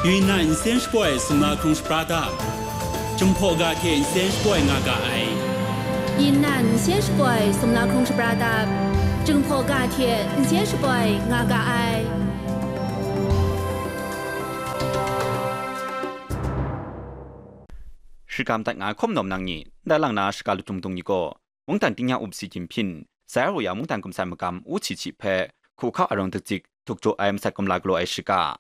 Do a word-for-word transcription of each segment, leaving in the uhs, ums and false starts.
Yunnan nsen shapoi sumla hkrung shapra dap, Jinghpaw ga hte nsen shapoi nga ga ai. Yunnan nsen shapoi sumla hkrung shapra dap, Jinghpaw ga hte nsen shapoi nga ga ai. Shikam dat nga ai hkum nawm nang ni, ndai lang na shiga lutung dung ni gaw, mungdan tingnya up si Jinping, Zai Aru ya mungdan kumsan magam u hti hti hpe, hku hkau arawng dakzik, tuk jaw ai masat kumla galaw ai shiga.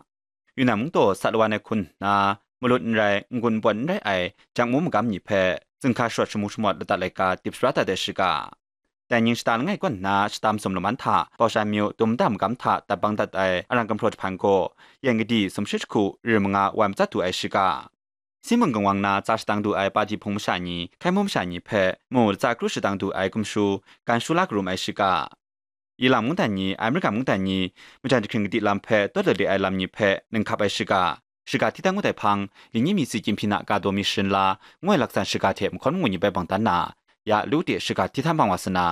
Yunnan mungdaw sat lawan ai hkun nna, malut n rai, n-gun n pawn n rai ai, jangmu magam ni hpe, zingka sharawt shamu shamawt ladat laika dip shapra dat ai shiga. Dai ning shata langai kaw nna shata masum laman hta, Baoshan myu dum nta magam hta tat bang dat ai arang gumhpraw jahpan gaw, yen kadi sumshi jahku ri manga wai matsat du ai shiga. Sinbung kangwang na tsa shadang du ai pati hpung masha ni, hkai mu masha ni hpe mu latsa kru shadang du ai gumshu, gan shu la karum ai shiga. Ilang mungdan ni, Amerika mungdan ni, majan jahkring kadi lam hpe tawt lale ai lam ni hpe ninghkap ai shiga, shiga hti dan ngut ai hpang, li ni mi si Jinping a ka daw mi sharin la, ngoi laksan shiga hte mahkawn mangun ni bai bang dan na, ya lu de shiga hti htan bang wa sa na,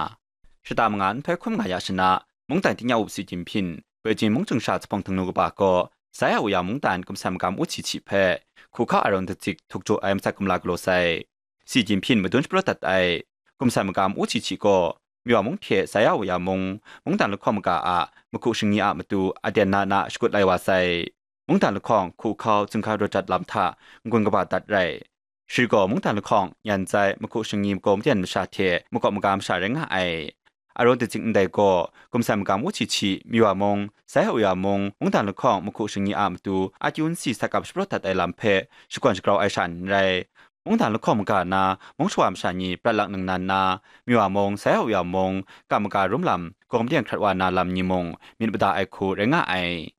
shata manga nhtoi hkum nga ya shana, mungdan tingnya up si Jinping, Beijing mungchying sha zuphpawng htingnu kaba gaw, Zai Aru ya mungdan kumsan magam u hti hti hpe, hku hkau arawng dakzik tuk jaw ai masat kumla galaw sai. Si Jinping madun shapraw dat ai. Kumsan magam u hti hti gaw, Myawa mung hte Zai Aru ya mung, mungdan lahkawng maga a mahku shingni a matu aten na na shakut lai wa sai. Mungdan lahkawng hku hkau zingka rawt dat lam hta n-gun kaba dat rai. Shi gaw mungdan lahkawng nyan zai mahku shingni makau maten masha hte makawp maga masha rai nga ai. Arawng dakzik ndai gaw, kumsan magam u hti hti, Myawa mung, Zai Aru ya mung, mungdan lahkawng mahku shingni a matu, akyu n si sa kap shapraw dat ai lam hpe shakawn shagrau ai sha n rai. Mungdan lahkawng maga na, mung shawa masha ni prat lak ningnan na, Myawa mung, Zai Aru ya mung, kap maga rum lam, gaw maten hkrat wa na lam ni mung, myit mada ai hku rai nga ai.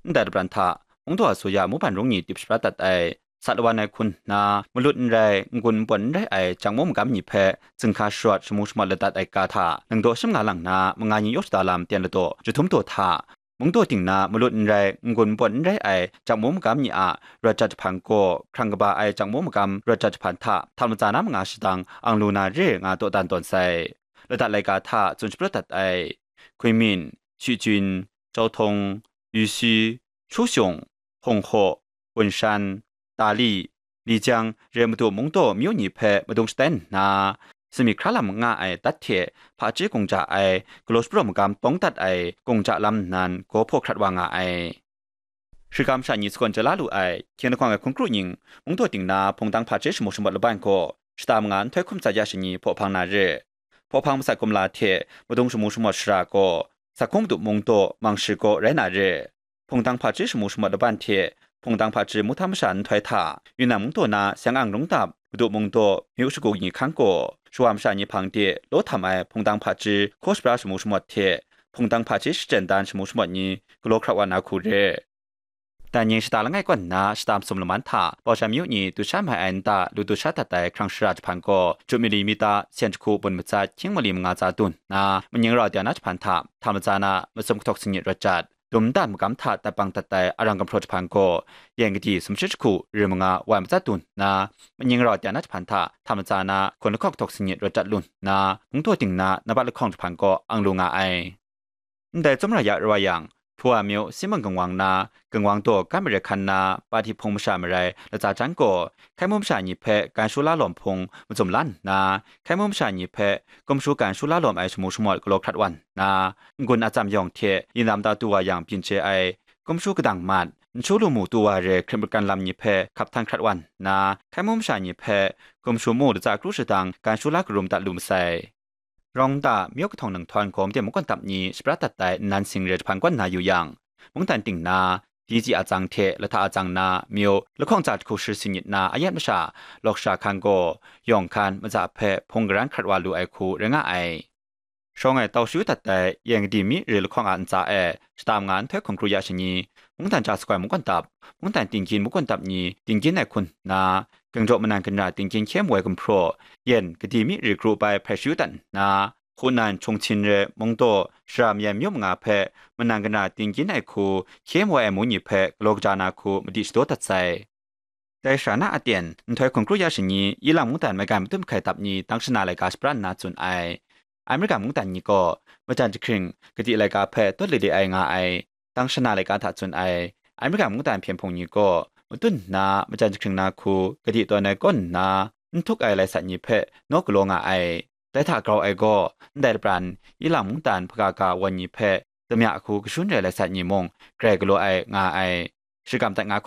Ndai dabran hta, mungdaw a suya muban rung ni dip shapra dat ai, sat lawan ai hkun nna, malut n rai, n-gun n pawn n rai ai jangmu magam ni hpe, zingka sharawt shamu shamawt ladat ai ga hta, nang daw shim nga lang na, manga ni yawk shada lam ten ladaw, jahtum daw hta, mungdaw ting na malut n rai, n-gun n pawn n rai ai jangmu magam ni a rawt jat jahpan gaw, hkrang kaba ai jangmu magam rawt jat jahpan hta, htam latsa na manga shadang ang lu na re nga dawdan tawn sai. Ladat laika hta tsun shapraw dat ai, Kunming, Shijun, Jautong, Yusi, Chuxiong, Honghe, Wunshan, Dali, Lijiang re madu mungdaw myu ni hpe madung shatai nna, sumik hkra lam nga ai dat hte hpaji gungja ai galaw shapraw magam tawng dat ai gungja lam nnan gaw hpaw hkrat wa nga ai. Shikam sha ni sagawn jala lu ai, hkying lahkawng ai hkun kru ning, mungdaw ting na hpungdang hpaji shamu shamawt laban gaw, shata manga nhtoi hkum tsat ya shani hpaw hpang na re. Hpaw hpang masat kumla hte madung shamu shamawt shara gaw, Sakhung Madu mungdaw mang shi gaw rai na re. Hpungdang hpaji shamu shamawt laban hte hpungdang hpaji muhtam masha nhtoi hta, Yunnan mungdaw na Siang-ang rungtap, Madu mungdaw myu shagu ni hkang gaw, shawa masha ni hpang de law htam ai hpungdang hpaji hkaw shapra shamu shamawt hte hpungdang hpaji shachyen dan shamu shamawt ni galaw hkrat wa na hku re. Dan ning shata langai kaw nna shata masum laman hta, Baoshan myu ni du sha mai ai nta lu du sha dat ai hkrang shara jahpan gaw, Jupmili mita sen jahku bun matsat hkying mali manga tsa dun nna, maning rau dai na jahpan hta, htam latsa na masum kahtawk sanit rawt jat, dum ntan magam hta tat bang dat ai arang gumhpraw jahpan gaw, yen kadi sumshi jahku ri manga wai matsat dun nna, maning rau dai na jahpan hta, htam latsa na hkun lahkawng kahtawk sanit rawt jat lu nna, mungdaw ting na nambat lahkawng jahpan gaw ang lu nga ai. Ndai tsawmra ya rawai yang, Hpawa myu Sinbung Kangwang na, Kangwang daw Kam Mare Hkan na, pati hpung masha marai latsa jan gaw, hkai mu masha ni hpe gan shu la lawm hpung mazum lan nna, hkai mu masha ni hpe gumshu gan shu la lawm ai shamu shamawt galaw hkrat wan nna, n-gun a tsam yawng hte yin lam ta tu wa yang byin chye ai, gumshu kadang mat, n shu lu mu tu wa re hkrit makan lam ni hpe hkap htan hkrat wan nna, hkai mu masha ni hpe gumshu mu latsa kru shadang gan shu la karum dat lu masai. Rawng nta, myu kahtawng nang htawn gaw maden mungkan tap ni shaprat dat ai nnan sing re jahpan kaw nna yu yang, mungdan ting na, Dizhi atsang hte lahta atsang na, myu lahkawng tsa jahku shi sanit na ayat masha, lawk sha hkan gaw, yawng hkan, matsa hpe hpung garan hkrat wa lu ai hku rai nga ai. Shawng e tau shayu dat ai, yen kadi mi re lahkawng a ntsa e, shata manga nhtoi hkum kru ya shani, mungdan ja sakoi mungkan tap, mungdan tingkyin mungkan tap ni tingkyin ai hkun nna, Gangjaw manan ganra tingkyin hkye mu ai gumhpraw, yen kadi mi re kru bai hpai shayu dat nna, Hunan Chungchin re mungdaw shara mayan myu manga hpe manan ganra tingkyin ai hku hkye mu ai amu ni hpe galaw kaja na hku madi shadaw dat sai. Dai sara na aten, nhtoi hkum kru ya shani, Ilang mungdan maigan matut mahkai tap ni tang shana laika shapran nna tsun ai. Amerika mungdan ni gaw, majan jahkring, kadi laika hpe tawt lele ai nga ai, tang shana laika hta tsun ai, Amerika mungdan hpyen hpung ni gaw matun nna majan jahkring na hku gadi tawn ai kaw nna, n htuk ai lai sat ni hpe naw galaw nga ai. Dai hta grau ai gaw, ndai lapran, ilang mungdan hpaka ga wan ni hpe damya hku kashun rai lai sat ni mung grai galaw ai nga ai. Shagam dat nga hkawm